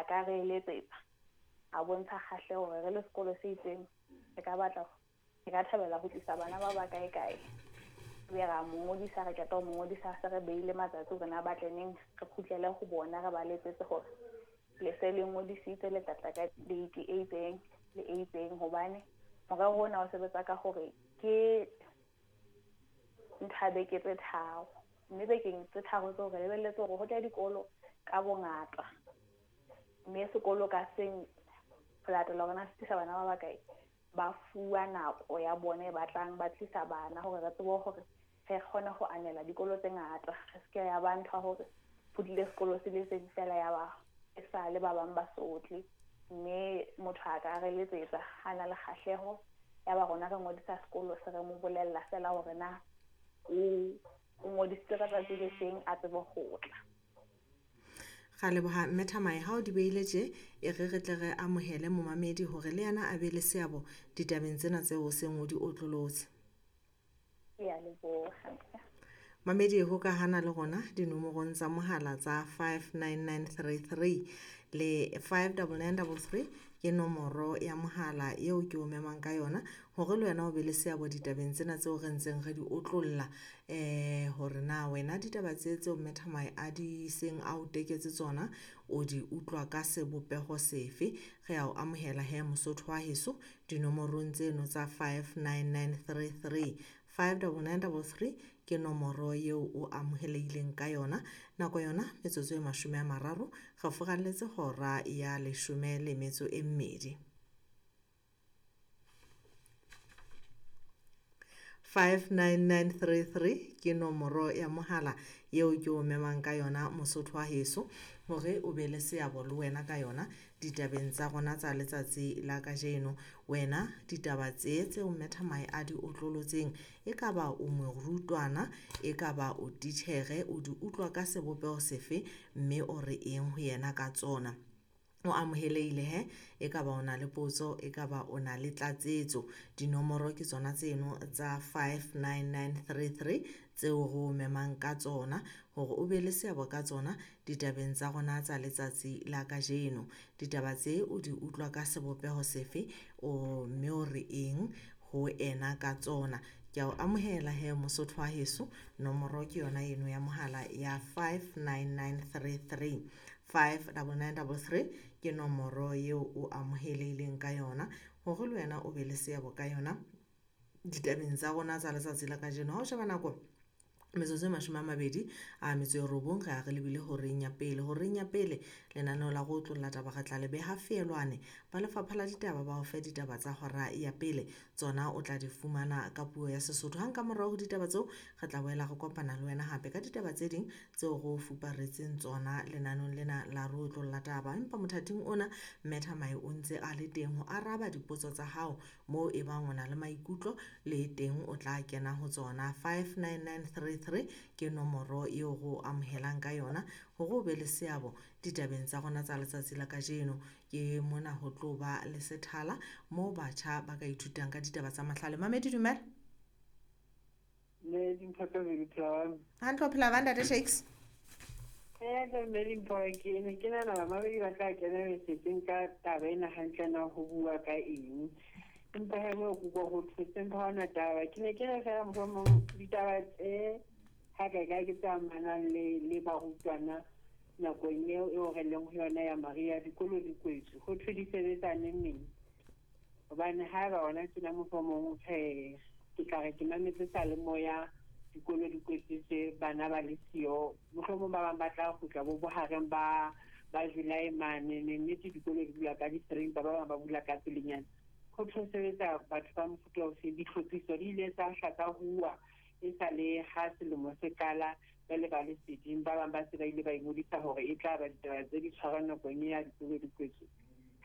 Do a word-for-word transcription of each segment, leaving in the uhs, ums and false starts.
ka re letsetsa a bontsha kgahleho hore re le sekolo se itseng re ka batla re ka thabela ho tlisa bana ba ba kae kae. Be ra mo ngodisa, re qeta ho mo ngodisa se re beile matsatsi hore na ba tle neng, re kgutlele ho bona re ba letsetse hore le se le ngodisitse le tla tla ka date e itseng le e itseng. Hobane morero ona o sebetsa ka hore ke ntho ya beke tse tharo, mme bekeng tse tharo tseo re lebelletse hore ho tle dikolo ka bongata, mme sekolo ka seng ho latela hore na se tlisa bana ba bakae, ba fuwa nako ya bona e batlang ba tlisa bana hore re tsebe hore re kgone ho anela dikolo tse ngata. Re se ke ya ba ntho ya hore ho tlile sekolo se le seng fela ya ba e sa le ba bang ba sotle. Mme motho a ka re letsetsa ha na le kgahleho ya ba rona re ngodisa sekolo se re mo bolella fela hore na o o ngodisitse ka tsatsi le feng a tsebe ho tla. Ra leboha mme Thamae ha o di beile tje, e re re tle re amohele momamedi hore le yena a be le seabo ditabeng tsena tseo o seng o di otlolotse. Ke a leboha. Mamedi ho ka hana le rona dinomorong tsa mohala tsa five nine nine three three le five double nine double three ke nomoro ya mohala eo ke o memang ka yona hore le wena o be le seabo ditabeng tsena tseo re ntseng re di otlolla. Eh hore na wena ditaba tse tseo mme Thamae a di seng a o teketse tsona o di utlwa ka sebopeho sefe. Re a o amohela he Mosotho wa heso dinomorong tseno tsa five nine nine three three, five double nine double three ke nomoro eo o amohelehileng ka yona. Nako yona metsotso e mashome a mararo re furalletse hora ya leshome le metso e mmedi. five nine nine three three ke nomoro ya mohala eo ke o memang ka yona Mosotho wa heso hore o be le seabo le wena ka yona ditabeng tsa rona tsa letsatsi la kajeno. Wena ditaba tse tseo mme Thamae a di otlolotseng, e ka ba o morutwana, e ka ba o titjhere, o di utlwa ka sebopeho sefe mme o re eng ho yena ka tsona. O amohelehile he, e ka ba o na le potso, e ka ba o na le tlatsetso. Dinomoro ke tsona tseno tsa five nine nine three three tseo re o memang ka tsona hore o be le seabo ka tsona ditabeng tsa rona tsa letsatsi la kajeno. Ditaba tse o di utlwa ka sebopeho sefe, o mme o re eng ho ena ka tsona. Ke a o amohela he Mosotho wa heso, nomoro ke yona eno ya mohala ya five nine nine three three, five double nine double three ke nomoro eo o amohelehileng ka yona hore le wena o be le seabo ka yona ditabeng tsa rona tsa letsatsi la kajeno. Ha o sheba nako metsotso e mashome a mabedi a metso e robong re a re lebile horeng ya pele. Horeng ya pele lenaneo la go otlolla taba re tla le beha feelwane. Ba lefapha la ditaba ba o fe ditaba tsa hora ya pele, tsona o tla di fumana ka puo ya Sesotho. Hang ka morao ho ditaba tseo re tla boela re kopana le wena hape ka ditaba tse ding tseo re o fuparetseng tsona lenaneng lena la re otlolla taba. Empa mothating ona mme Thamae o ntse a le teng ho araba dipotso tsa hao moo e bang o na le maikutlo le teng o tla kena ho tsona. five nine nine three three ke nomoro eo re o amohelang ka yona hore o be le seabo ditabeng tsa rona tsa letsatsi la kajeno. Ke mona ho tlo ba le sethala moo batjha ba ka ithutang ka ditaba tsa mahlale. Mamedi dumela. Mme Dimpho tse pedi phela. Hantle o phela ba ntate Shakes? Eh, mme Dimpho, ke ne ke nahana bamamedi ba tla kena mesetseng ka taba ena hantle na ho bua ka eng. Empa he moo ke utlwa ho thotse empa ha hona taba. Ke ne ke re feela mohlomong ditaba tse ha kae kae ke tse amanang le, le barutwana nakong eo eo re leng ho yona ya mariha, dikolo di kwetswe, ho thwe di sebetsa neng neng. Hobane haeba hona tjena mohlomong re, ke tla re ke mametse seyalemoya, dikolo di kwetswe bana ba le siyo, mohlomong ba bang ba tla kgutla bo bohareng ba, ba July mane, ne nnete dikolo di bula ka di-three, empa ba bang ba bula ka pelenyana. Ho tlo sebetsa batho ba mofuta ofe, ditlhophiso di ile tsa hla tsa huwa e sa le ha selemo se qala, ba le ba le seding, ba bang ba se ba ile ba ingodisa hore e tla ba ditaba tse di tshwarang nakong ya dikolo di kwetswe.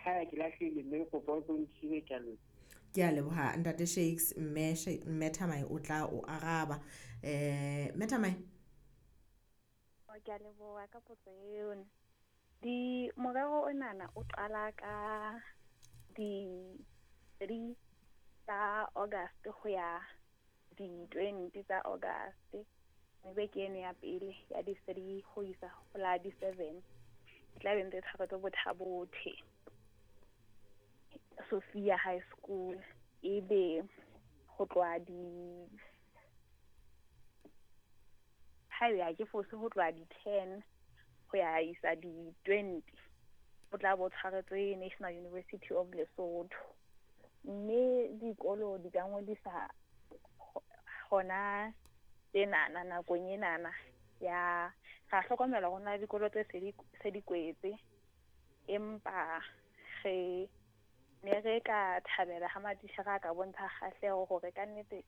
Ha ke lahlehile mme ke kopa o tlo nthibe, ke a leboha. Ke a leboha ntate Shakes, mme Sha-, mme Thamae o tla o araba. Eh, mme Thamae? Ke a leboha ka potso eo. Di morero onana o qala ka di three tsa August ho ya di twenty tsa August. Mme beke eno ya pele ya di three ho isa ho la di seven. E tla be ntse e tshwaretswe Botha-Bothe, Sophia High School. Ebe ho tloha di haebe ha ke fose ho tloha di-ten ho ya isa di-twenty, o tla bo tshwaretswe National University of Lesotho. Mme dikolo di ka ngodisa hona tjenana nakong enana ya ra hlokomela hore hona le dikolo tse se di se di kwetse, empa re ne re ka thabela ha matitjhere a ka bontsha kgahleho hore kannete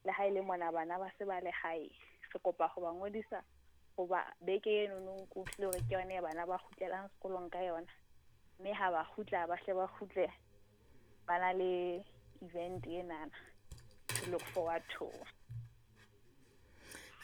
le ha ele mona bana ba se ba le hae, re kopa ho ba ngodisa hoba beke enono ke utlwile hore ke yona e bana ba kgutlelang sekolong ka yona. Mme ha ba kgutla ba hle ba kgutle ba na le event enana to look forward to.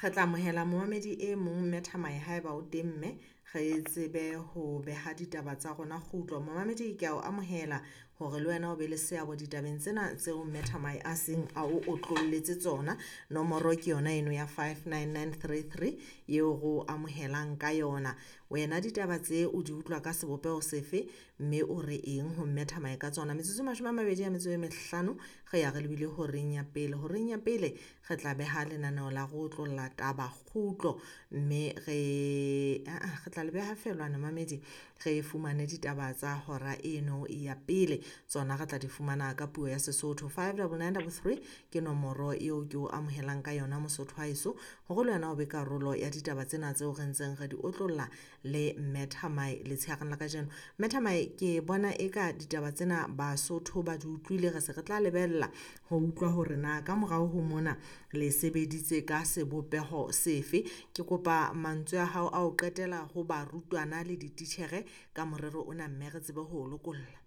Re tla amohela momamedi e mong mme Thamae haeba o teng mme re tsebe ho beha ditaba tsa rona kgutlo. Momamedi ke a o amohela hore le wena o be le seabo ditabeng tsena tseo mme Thamae a seng a o otlolletse tsona. Nomoro ke yona eno ya five nine nine three three eo re o amohelang ka yona. Wena ditaba tse o di utlwa ka sebopeho sefe mme o re eng ho mme Thamae ka tsona? Metsotso e mashome a mabedi a metso e mehlano re ya re lebile horeng ya pele. Horeng ya pele re tla beha lenaneo la go otlolla taba kgutlo mme re aa re tla le beha feelwane mamedi re fumane ditaba tsa hora eno ya pele. Tsona re tla di fumana ka puo ya Sesotho. Five double nine double three ke nomoro eo ke o amohelang ka yona Mosotho wa heso hore le wena o be karolo ya ditaba tsena tseo re ntseng re di otlolla le mme Thamae letshehareng la kajeno. Mme Thamae ke bona eka ditaba tsena Basotho ba di utlwile, re se re tla lebella ho utlwa hore na ka morao ho mona le sebeditse ka sebopeho sefe. Ke kopa mantswe a hao a ho qetela ho barutwana le dititjhere ka morero ona mme re tsebe ho o lokolla.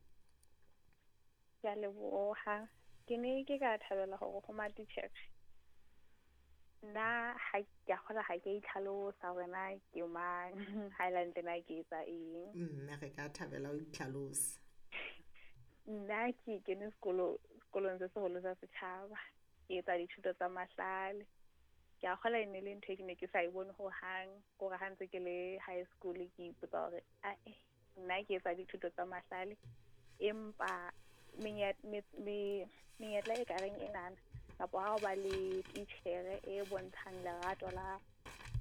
Ke a leboha. Ke ne ke ka thabela hore ho matitjhere nna ha ke a kgolwa ha ke a itlhalosa hore na ke mang, ha ele hantle na ke etsa eng. Mme re ka thabela o itlhalose. Nna ke kene sekolo sekolong se seholo sa setjhaba, ke etsa dithuto tsa mahlale. Ke a kgolwa e ne le ntho e ke ne ke sa e bone hohang, kore ha ntse ke le high school ke ipotsa hore ae nna ke etsa dithuto tsa mahlale, empa menyetla e kareng enana kapa ha o ba le titjhere e bontshang lerato la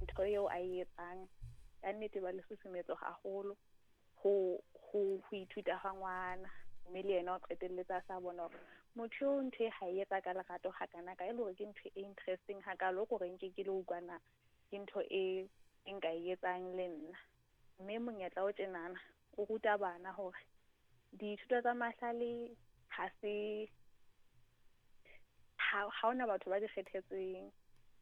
ntho eo a e etsang, ka nnete ba le susumetso haholo ho ho ho ithuta ha ngwana. Mme le yena o qetelletse a sa bona hore motho eo ntho e ha e etsa ka lerato hakana ka e le hore ke ntho e interesting hakalo kore nke ke le utlwana ke ntho e e nka e etsang le nna. Mme monyetla o tjenana o ruta bana hore dithuto tsa mahlale ha se ha ha hona batho ba di kgethetsweng.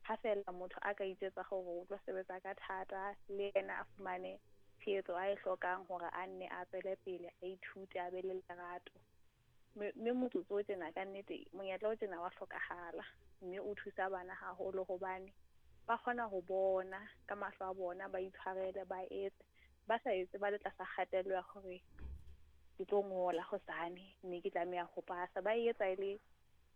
Ha feela motho a ka itjwetsa hore o tlo sebetsa ka thata le yena a fumane tshehetso a e hlokang hore a nne a tswele pele a ithute a be le lerato. Mme motsotso o tjena kannete monyetla o tjena wa hlokahala mme o thusa bana haholo hobane ba kgona ho bona ka mahlo a bona, ba itshwarele, ba etse ba sa etse ba le tlasa kgatello ya hore ke tlo ngola hosane mme ke tlameha ho pasa. Ba e etsa e le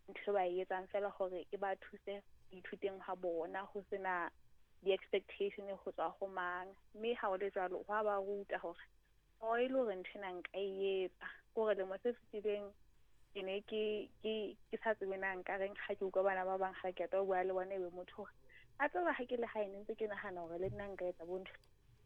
ntho e ba e etsang feela hore e ba thuse ho ithuteng ha bona, ho sena di-expectation ho tswa ho mang. Mme ha ho le jwalo hwa ba ruta hore o e le hore ntho ena nka e etsa. Ke hore lemo se fetileng ke ne ke ke ke sa tsebe na nka reng ha ke utlwa bana ba bang ha ke qeta ho bua le bona ebe motho hore a tseba ha ke le hae ne ntse ke nahana hore le nna nka etsa bo ntho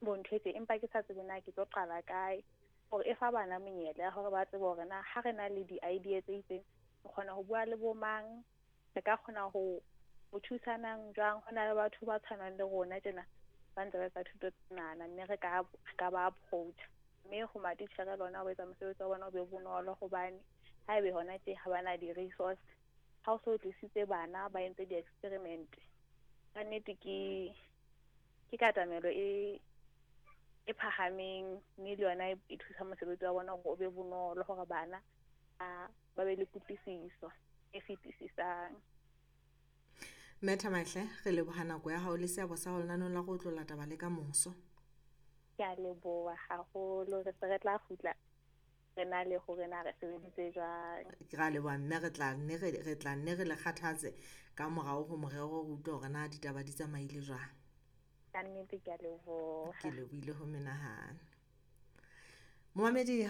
bo ntho e tje, empa ke sa tsebe na ke tlo qala kae. Hore e fa bana menyetla ya hore ba tsebe hore na ha re na le di-idea tse itseng re kgona ho bua le bo mang, re ka kgona ho ho thusanang jwang. Ho na le batho ba tshwanang le rona tjena ba ntse ba etsa thuto tsenana mme re ka re ka ba approach. Mme ho matitjhere le ona ho etsa mosebetsi wa bona o be bonolo hobane haebe hona tje ha bana di-resource, ha o so tlisitse bana ba entse di-experiment, kannete ke ke katamelo e e phahameng mme le yona e thusa mosebetsi wa bona hore o be bonolo hore bana ba ba be le kutlwisiso e fetisisang. Mme Thamae hle re leboha nako ya hao le seabo sa hao lenaneong la go otlolla taba le ka moso. Ke a leboha haholo, re se re tla kgutla re na le hore na re sebeditse jwang. Ke ra leboha mme re tla nne re re tla nne re le kgathatse ka morao ho morero ho utlwa hore na ditaba di tsamaile jwang. Kannete ke a leboha. Ke lebohile ho menahane. Momamedi.